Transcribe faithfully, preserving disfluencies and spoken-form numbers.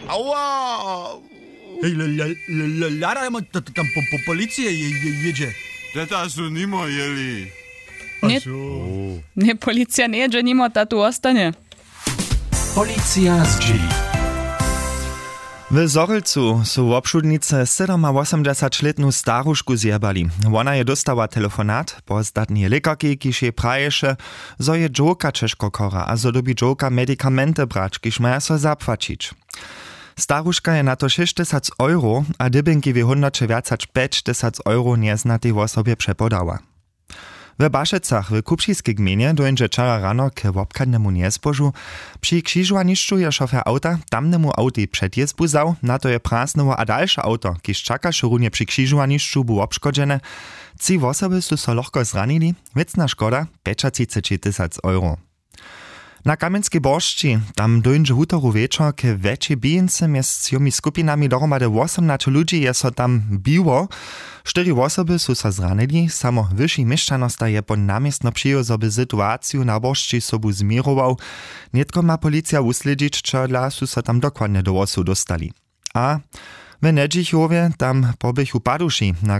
Aua. Hej, hladajmy, tam policija jědźe. Teta su nimo jěli. Nje, policija njejědźe nimo, ta tu wostanje. Policija zdźěli. W Zhorjelcu su wobšudnicy sydomawosomdźesaćlětnu starušku zjebali. Wona je dóstała telefonat po zdatneje lěkarki, kiž jej praješe, zo je dźowka ćežko chora a zo dyrbi dźowka medikamenty brać, kiž maja so zapłaćić. Staruška je na to šěsćtysac euro a dybjenki w hódnoće wjac hač pjećtysac euro njeznatej wosobje přepodała. W Bašecach w Kupšiskej gmejnje dóńdźe wčera rano k wobchadnemu njezbožu. Při křižowanišću je šofer awta tamnemu awtej předjězbu wzał, na to je prasnyło a dalše awto, kiž čakaše runje při křižowanišću, bu wobškodźene. Tři wosoby su so lochko zranili. Wěcna škoda pjećatřiceći tysac euro. Na Kamjenskej Boršći tam dóńdźe wutoru wječor k wjetšej bijence. Mjez třomi skupinami dohromady wosomnaće ludźi je so tam biło. Štyri wosoby su so zranili. Samo wyši měšćanosta je po naměstno přijěł, zo by situaciju na Boršći sobu změrował. Nětko ma policija wuslědźić, čehodla su so tam dokładnje do wosow dóstali. A w Njedźichowje tam poběchu paduši na